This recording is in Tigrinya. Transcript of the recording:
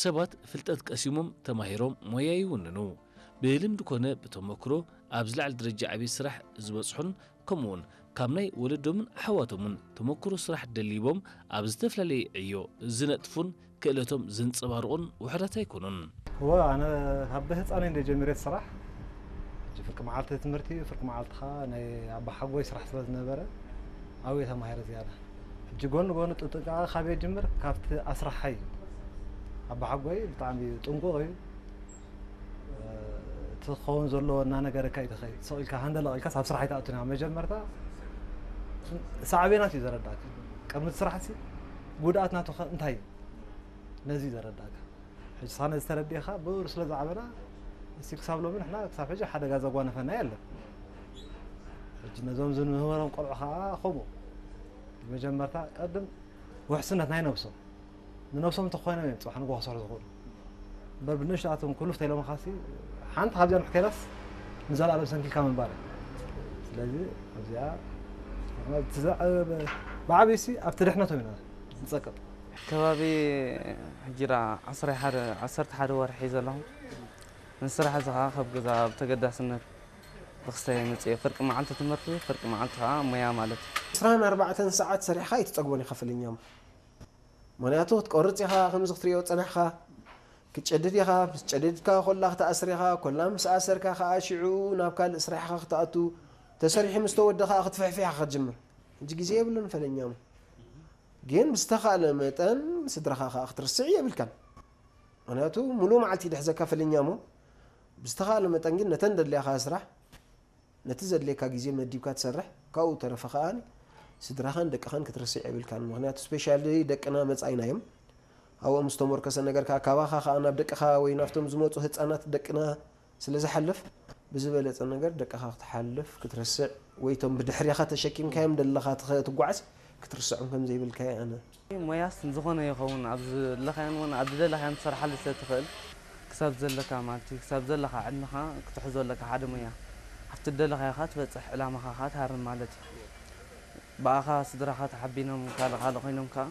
ሰባት ፍልጠት ቀሲሞም ተማሂሮም ሞያ ይውንኑ። ብልምዲ ኮነ ብተመክሮ ኣብ ዝለዓለ ደረጃ ዓብዪ ስራሕ ዝበጽሑን ከምኡውን ካብ ናይ ወለዶምን ኣሕዋቶምን ተመክሮ ስራሕ ደሊቦም ኣብ ዝተፈላለየ ዕዮ ዝነጥፉን ክእለቶም ዘንጸባርቑን ውሑዳት ኣይኮኑን። እወ፣ ኣነ ካብ ብህፃነይ እንደ ጀሚረ ስራሕ፣ ሕጂ ፍርቂ መዓልቲ ትምህርቲ፣ ፍርቂ መዓልትኻ ናይ ኣባሓጎይ ስራሕ ስለ ዝነበረ ኣብየ ተማሂረ ዝያዳ። ሕጂ ጎኒ ጎኒ ጥጥቃ ካበይ ጅምር? ካብቲ ኣስራሓይ እዩ። ኣባሓጎይ ብጣዕሚ ጥንቁቕ እዩ። እቲ ክኸውን ዘለዎ እናነገረካ እዩ ትኸይድ። ስቕ ኢልካ ሃንደለቕ ኢልካስ ኣብ ስራሕ ኣይትኣቱን። ኣብ መጀመርታ ሳዕቤናት እዩ ዘረዳእካ። ቅድሚ እቲ ስራሕሲ ጉድኣት ናቱ ኸ እንታይ እዩ? ነዚ እዩ ዘረዳእካ። ሕጂ ሳነ ዝተረዲእኻ ብእሩ ስለ ዝዓበና፣ እስቲ ክሳብ ሎሚ ንሕና ክሳብ ሕጂ ሓደጋ ዘጓነፈና የለን። ሕጂ ነዞም ዝንምህሮም ቆልዑ ኸዓ ኸምኡ። መጀመርታ ቀድም ውሕስነት ናይ ነብሶም። ንነብሶም እንተኾይኖም እዮም ጽባሕ ንግሆ ክሰርሑ ዝኽእሉ። እምበር ብንእሽቶኣቶም ኩልፍ ተኢሎምኻሲ፣ ሓንቲ ካብዚኣ ንሕከይላስ ንዘለኣለም ሰንኪልካ ምንባር እዩ። ስለዚ ኣብዚኣ እቲ ዝዓበየ፣ ብዓብዩሲ ኣብቲ ድሕነቶም ኢና ንጸቅጥ። ከባቢ ሕጂ ደኣ ዓሰርተ ሓደ፣ ዓሰርተ ሓደ ወርሒ ዘለኹ። ንስራሕ እዚ ኸዓ ካብ ገዛ ብተገዳስነት ብክስተይ መፅእ። ፍርቂ መዓልቲ ትምህርቲ፣ ፍርቂ መዓልቲ ኸዓ ሞያ ማለት እዩ። ዕስራን ኣርባዕተን ሰዓት ሰሪሕኻ ኣይትፀግቦን ኢኻ ፍልኛሙ። ምኽንያቱ ክትቆርፅ ኢኻ፣ ከምዚ ክትሪኦ ፀናሕኻ፣ ክትጨድድ ኢኻ፣ ምስ ጨደድካ ኮላ ክትኣስር ኢኻ፣ ኮላ ምስ ኣሰርካ ኸዓ ሽዑ ናብ ካልእ ስራሕ ኢኻ ክትኣቱ፣ ተሰሪሑ ምስ ተወደ ኸዓ ክትፍሕፍሕ ኢኻ ክትጅምር። ሕጂ ግዜ የብሉን ፈለኛሙ። ግን ብዝተኻእለ መጠን ስድራኻ ኸዓ ክትርስዕ የብልካን። ምኽንያቱ ሙሉእ መዓልቲ ይድሕዘካ ፈለኛሙ። ብዝተኻእለ መጠን ግን ነተን ደድልያኻ ስራሕ፣ ነቲ ዘድልየካ ግዜ መዲብካ ትሰርሕ፣ ካብኡ ተረፈ ከኣ ስድራኻን ደቅኻን ክትርስዕ የብልካን። ምኽንያቱ ስፔሻሊ ደቅና መጻኢና እዮም። ኣብኦም ዝተሞርከሰ ነገር ከኣ ካባኻ ከኣ ናብ ደቅኻ ወይ ናብቶም ዝመጹ ህጻናት ደቅና ስለ ዝሓልፍ፣ ብዝበለጸ ነገር ደቅኻ ክትሓልፍ ክትርስዕ ወይ እቶም ብድሕሬኻ ተሸኪምካዮም ደለኻ ትኸ-፣ ትጓዓዝ ክትርስዖም ከም ዘይብልካ እየ ኣነ። ሞያስ ንዝኾነ ይኸውን፣ ኣብ ዝደለኻዮን እውን ኣብ ዝደለኻዮን ትሰርሓሉ ስለ ትኽእል፣ ክሳብ ዘለካ ማለት እዩ፣ ክሳብ ዘለካ ዕድመኻ ክትሕዞ ኣለካ ሓደ ሞያ። ኣብቲ ዝደለኻዮ ኸኣ ትበጽሕ፣ ዕላማኻ ኸኣ ትሃርም ማለት እዩ። ብኣኻ ስድራኻ ተሓቢኖም ካልእ ካልእ ኮይኖም ከኣ